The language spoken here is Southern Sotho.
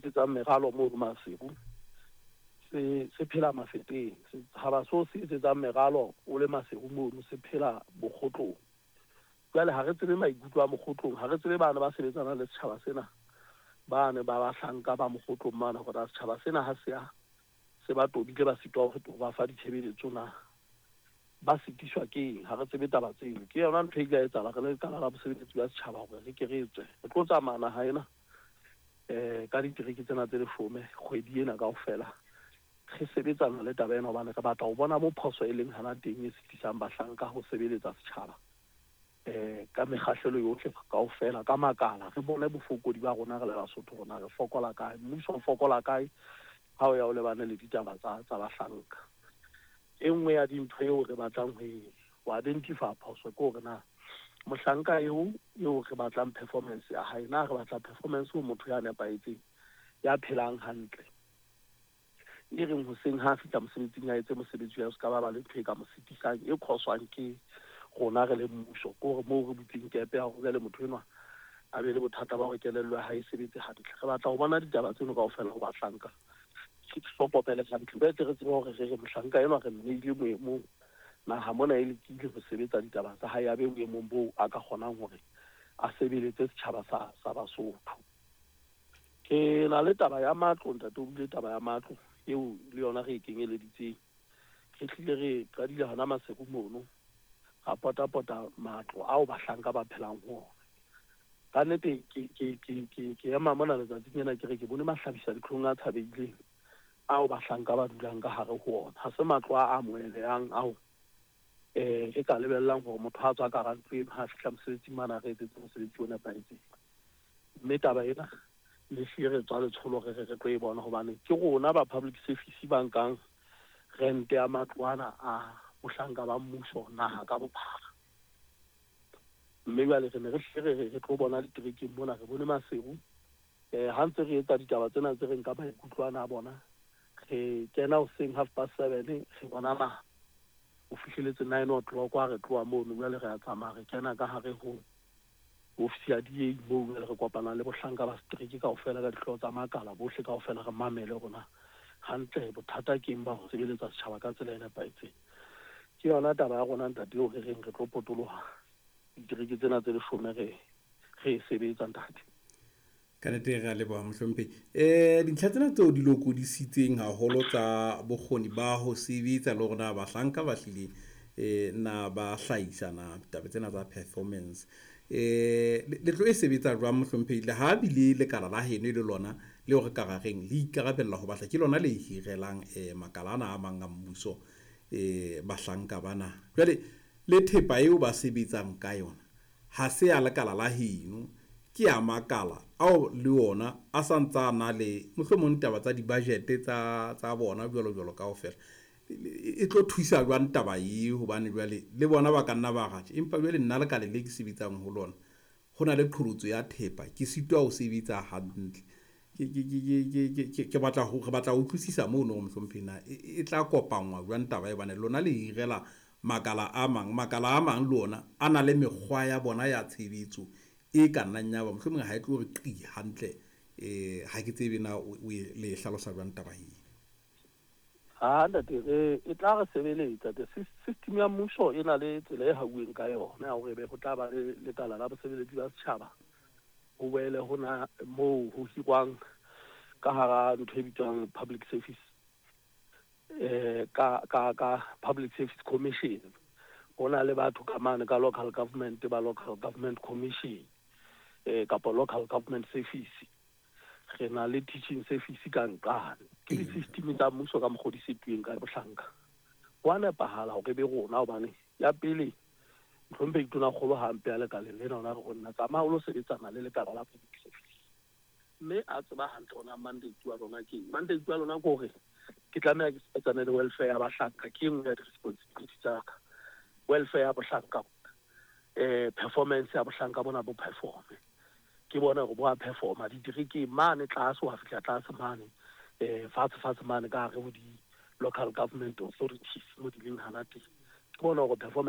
etsetsang meralo mono Maseru se phela Mafeteng. Setjhaba seo se etsetsang meralo o le Maseru mono se phela Bokgotlong. Jwale ha re tsebe maikutlo a Mokgotlong, ha re tsebe bana ba sebetsanang le setjhaba sena, bane ba bahlanka ba Mokgotlong mane, hore na setjhaba sena ha se a se ba tobile ba sitwa ho ba fa ditshebeletso na ba sitiswa ke eng. Ha re tsebe taba tseo. Ke yona ntho e ile ya etsahala re le lekala la bosebeletsi ba setjhaba hore re ke re tswe re tlo tsamaya naha ena ka ditereke tsena tse 10 kgwedi ena kaofela re sebetsana le taba ena, hobane re batla ho bona mo phoso e leng hana teng e sitisang bahlanka ho sebeletsa setjhaba ka mekgahlelo yohle kaofela ka makala. Re bone bofokodi ba rona re le Basotho, rona re fokola kae, mmuso o fokola kae ha o ya o lebane le ditaba tsa bahlanka. E nngwe ya dintho eo re batlang ho identify phoso ke hore na mohlanka eo re batlang performance ya hae, na re batla performance ho motho ya nepahetseng, ya phelang hantle, e reng hoseng ha fihla mosebetsing a etse mosebetsi wa se ka ba le ntho e ka mo sitisang e khoswang ke rona re le mmuso. Ke hore moo re butseng kepe ya hore jwale motho enwa a be le bothata ba hore kelello ya hae e sebetse hantle. Re batla ho bona ditaba tseno kaofela ho bahlanka, re hlokomele hantle, re tle re tsebe hore re re mohlanka enwa re mmeile boemong naha mona e lekile ho sebetsa ditaba tsa hae, a be boemong boo a ka kgonang hore a sebeletse setjhaba sa Basotho. Ke na le taba ya matlo, ntate o buile taba ya matlo eo le yona re e kenyeleditseng. Re hlile re qadile hona Maseru mono, ra potapota matlo ao bahlanka ba phelang ho ona. Ka nnete ke ema mona letsatsing lena ke re ke bone mahlabisa dihlong a tshabehileng ao bahlanka ba dulang ka hare ho ona. Ha se matlo a amohelehang ao re ka lebellang hore motho ha tswa ka hara ntlo eno ha fihla mosebetsing mane a re etsetse mosebetsi o nepahetseng. Mme taba ena le hlile re tswa letsholo re re tlo e bona, hobane ke rona ba public service ba nkang rente ya matlo ana a bohlanka ba mmuso naha ka bophara. Mme jwale re ne re hlile re tlo bona diterekeng mona, re bone Maseru. Ha ntse re etsa ditaba tsena tse re nka maikutlo ana a bona, re kena hoseng 7:30, re bona naha ho fihleletse 9 o'clock ha re tloha mono. Jwale re a tsamaya re kena ka hare ho ofisi ya DA moo jwale re kopana le bohlanka ba setereke kaofela ka dihlooho tsa makala bohle kaofela, re mamele rona hantle bothata ke eng ba ho sebeletsa setjhaba ka tsela e nepahetseng. Ke yona taba ya rona ntate eo re reng re tlo potoloha ditereke tsena tse 10 re e sebetsa ntate. Ka nnete re a leboha mohlomphehi. Dintlha tsena tseo di lokodisitseng haholo tsa bokgoni ba ho sebetsa le hore na bahlanka ba hlile na ba hlahisa na taba tsena tsa performance. Le tlo e sebetsa jwang mohlomphehi? Le ha bile lekala la heno le lona leo re ka ra reng le ikarabella ho batla, ke lona le hirelang makala ana a mang a mmuso bahlanka bana. Jwale le thepa eo ba sebetsang ka yona ha se ya lekala la heno, ke ya makala ao le ona a sa ntsa na le mohlomong taba tsa di-budget tsa bona jwalo jwalo kaofela. E tlo thusa jwang taba e, hobane jwale le bona ba ka nna ba ratjha, empa jwale nna lekala le ke sebetsang ho lona ho na le qholotso ya thepa, ke sitwa ho sebetsa hantle. Ke batla ho re batla ho utlwisisa mono hore mohlomphehi na e tla kopangwa jwang taba e, hobane lona le hirela makala a mang, makala a mang le ona a na le mekgwa ya bona ya tshebetso e ka nnang ya ba mohlomong ha e tlo re qi hantle. Ha ke tsebe na o le hlalosa jwang taba e. Ha ntate, e tla re sebeletsa. System ya mmuso e na le tsela e hauweng ka yona ya hore be ho tla ba le lekala la bosebeletsi ba setjhaba, ho boele ho na moo ho hirwang ka hara ntho e bitswang public service ka public service commission. Ho na le batho ka mane ka local government ba local government commission kapa local government service. Re na le teaching service ka nqane. Ke di-system tsa mmuso ka mokgwa o di setuweng ka bohlanka. Ho a nepahala hore be rona, hobane ya pele mohlomphehi Tonakgolo ha mpe a lekaleng lena, ona re ho nna tsamaya o lo sebetsana le lekala la public service, mme a tseba hantle hore mandate wa lona ke eng. Mandate wa lona ke hore ke tlameha ke sebetsane le welfare ya bahlanka, ke e nngwe ya di-responsibility tsa ka. Welfare ya bohlanka, performance ya bohlanka bona bo performe, ke bona hore bo a performa diterekeng mane tlase, wa fihla tlase mane fatshe fatshe mane ka hare ho di-local government authorities mo di leng hana teng, ke bona hore performance